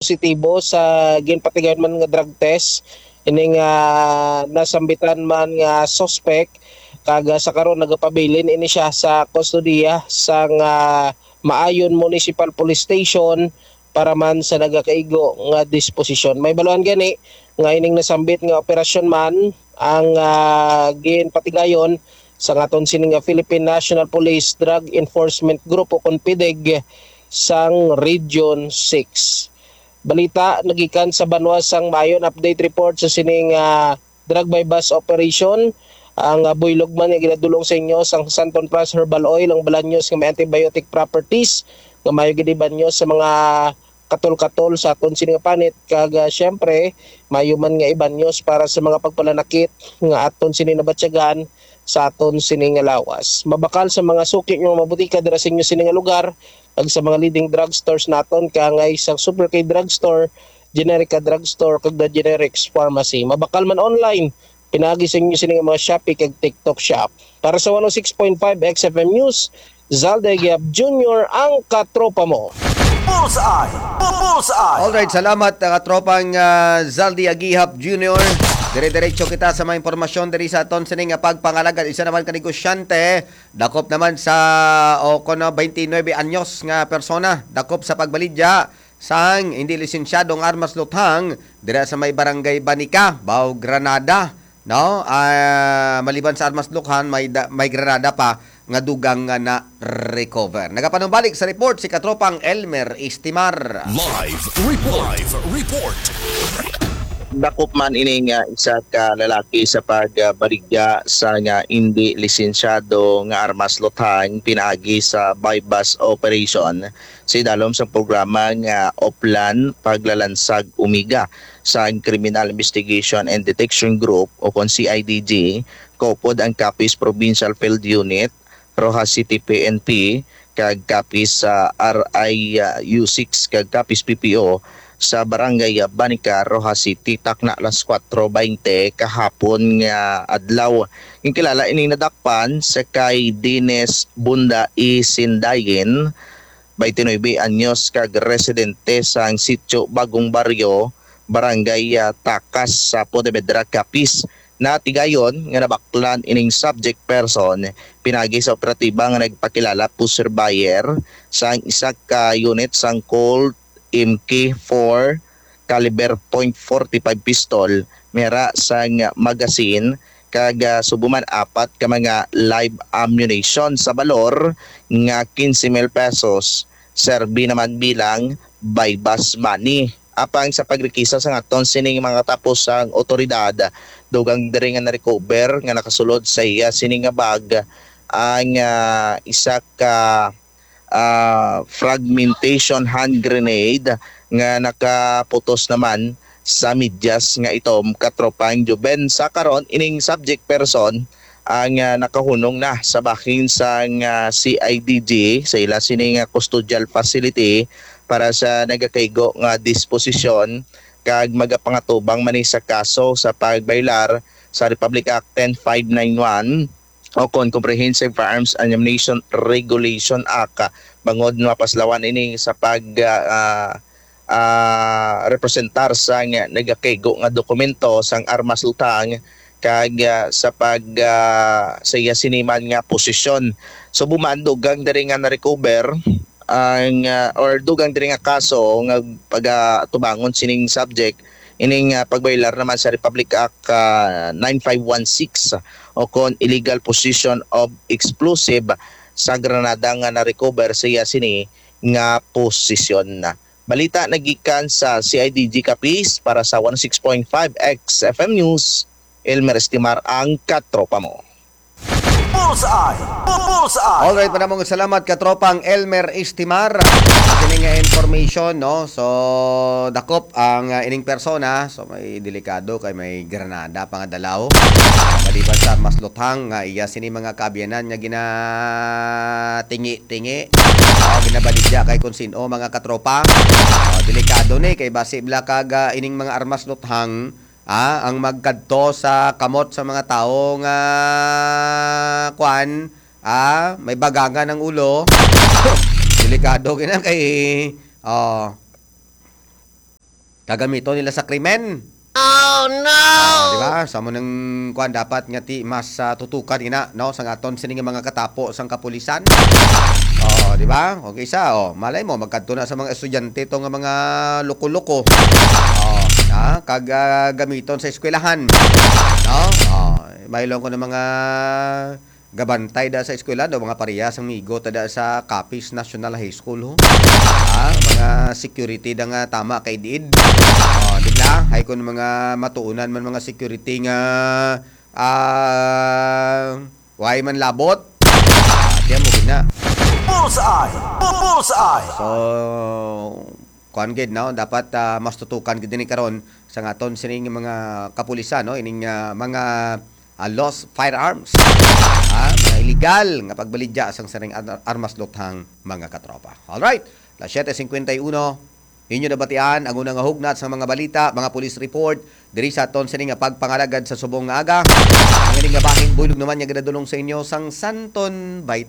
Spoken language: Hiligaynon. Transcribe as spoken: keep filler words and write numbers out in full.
positibo sa ginpatigayon man nga drug test ining, ah, nasambitan man nga suspect, kag, ah, sa karon nagapabilin ini siya sa kustodiya sang, ah, Maayon Municipal Police Station para man sa nagakaigo nga disposisyon. May baluhan gani nga ining nasambit nga operasyon man ang, ah, ginpatigayon sa aton sini nga Philippine National Police Drug Enforcement Group o kon PDEG sang Region six. Balita nagikan sa banwa sang Maayon, update report sa sining, ah, drug buy-bust operation. Ang, ah, buylog man nga ginadulong sa inyo sang Santon Plus Herbal Oil, ang balanyos nga may antibiotic properties nga maayo gid ibanyos sa mga katol-katol sa aton sini nga panit, kag, ah, siyempre maayo man nga ibanyos para sa mga pagpalanakit nga aton sini nabatyagan sa aton sini nga lawas. Mabakal sa mga suki nga mga butika dira sa inyo sini nga lugar, kag sa mga leading drugstores naton, kaangay sang Super K Drugstore, Generica Drugstore, kag The Generics Pharmacy. Mabakal man online, pinaagi sa inyo sini nga mga Shopee kag TikTok Shop. Para sa one oh six point five X F M News, Zalde Giap Junior ang katropa mo. Bullseye! Bullseye! Alright, salamat, uh, katropang, uh, Zaldi Agihap Junior. Dire-diretso kita sa mga impormasyon diri sa aton sini nga pagpangalagad. Isa naman ka negosyante, dakop naman sa, o kuno, twenty-nine anyos nga persona, dakop sa pagbaligya sang hindi lisensyadong armas luthang dira sa may barangay Banica, Bao Granada, no? Ah, maliban sa armas luthang, may da-, may granada pa nga dugang nga na-recover. Nagapanumbalik sa report si katropang Elmer Istimar. Live report. Live report. Dakop man ini nga isa ka lalaki sa pagbaligya sa nga indi lisensyado nga armas luthang pinaagi sa buy-bust operation sa idalom sang programa nga Oplan Paglalansag Umiga sang Criminal Investigation and Detection Group o kon C I D G, kaupod ang Capiz Provincial Field Unit, Roxas City P N P, kag Capiz sa R I U six kag Capiz P P O sa Barangay Banica, Roxas City, takna alas kuwatro baynte kahapon nga adlaw. Ginkilala ining nadakpan sa kay Dines Bunda E. Sindayin, twenty-nine anyos, kag residente sang Sitio Bagong Baryo, Barangay, ah, Takas sa Pontevedra, Capiz. Natigayon nga nabaklan ining subject person pinaagi sa operatiba nga nagpakilala pusher buyer sang isa ka unit sang Colt M K four caliber point forty-five pistol, mera sang magazine, kag, ah, subo man apat ka mga live ammunition sa balor nga quince mil pesos, serbi naman bilang buy-bust money. Apang sa pagrekisa sang aton sining mga katapos sang otoridad, dugang diri nga na-recover nga nakasulod sa iya sini nga bag ang, ah, isa ka, ah, fragmentation hand grenade nga nakaputos naman sa medyas nga itom, katropang Juben. Sa karon, ining subject person ang, ah, nakahunong na sa bahin sang, ah, C I D G sa ila sini nga custodial facility para sa nagakaigo nga disposisyon, kag magapangatubang man ni sa kaso sa pagbaylar sa Republic Act ten five nine one o kon Comprehensive Firearms and Ammunition Regulation Act, bangod mapaslawan ini sa pag, ah, ah, representar sang nagakaigo nga dokumento sang armas luthang kag, ah, sa pag, ah, sa iya sini man nga posisyon. So, buman dugang diri nga na-recover ang, ah, or dugang diri nga kaso nga pagatubangon sining subject, ining, ah, pagbaylar naman sa Republic Act, ah, nine five one six o kon illegal possession of explosive sa granada nga na-recover sa iya sini nga posisyon. Balita nagikan sa C I D G Capiz para sa one oh six point five X F M News, Elmer Estimar ang katropa mo. Bullseye! Bu-, Bullseye! Alright, maraming salamat, katropang Elmer Estimar. Kini nga information, no? So, dakop ang, ah, ining persona. So, may delikado kay may granada pa nga dalaw. Maliban sa mas luthang nga iya sini mga kaabyanan nga ginatingi-tingi. Oh, ginabaligya kay kung sino, mga katropa. Oh, delikado ni kay basi bala kag, ah, ining mga armas luthang, ah, ang magkadto sa kamot sa mga tawo nga, kwan, ah, may bagangan ang ulo. Delikado gina kay, oh. kagamiton nila sa krimen. Oh, no! Ah, di ba? Sa mo nang kuan, dapat nga ti mas ah, tutukan ina, no, sa aton sini nga mga katapo sang kapulisan. Oh, di ba? Okay sa, oh, malay mo magkadto na sa mga estudyante to nga mga loko-loko. Oh, ha? Kag ah, gamiton sa eskwelahan. No? Oh, mailong ko ng mga gabantay da sa eskwela do, mga parehas ang migo ta da sa Capiz National High School, ho. Ah, mga security da nga tama kay diid. Oh, di ba? Hay kun mga matuunan man mga security nga ah, way man labot. Ah, tiyan mo gid na. Bullseye! Bu- Bullseye! So, kuan gid, no? Dapat ah, mas tutukan gid ni karon sa aton sining mga kapulisan, no? Ining ah, mga ah, lost firearms. Ha? Mga illegal nga pagbaligya sang sining ar- armas luthang, mga katropa. All right. Las siete cincuenta y uno, inyo nabatian ang unang nga hugnat sa mga balita, mga police report diri sa aton sini nga pagpangalagad sa subong nga aga. Ang ining nga bahin buylog naman nga ginadulong sa inyo sang Santon Vitamin.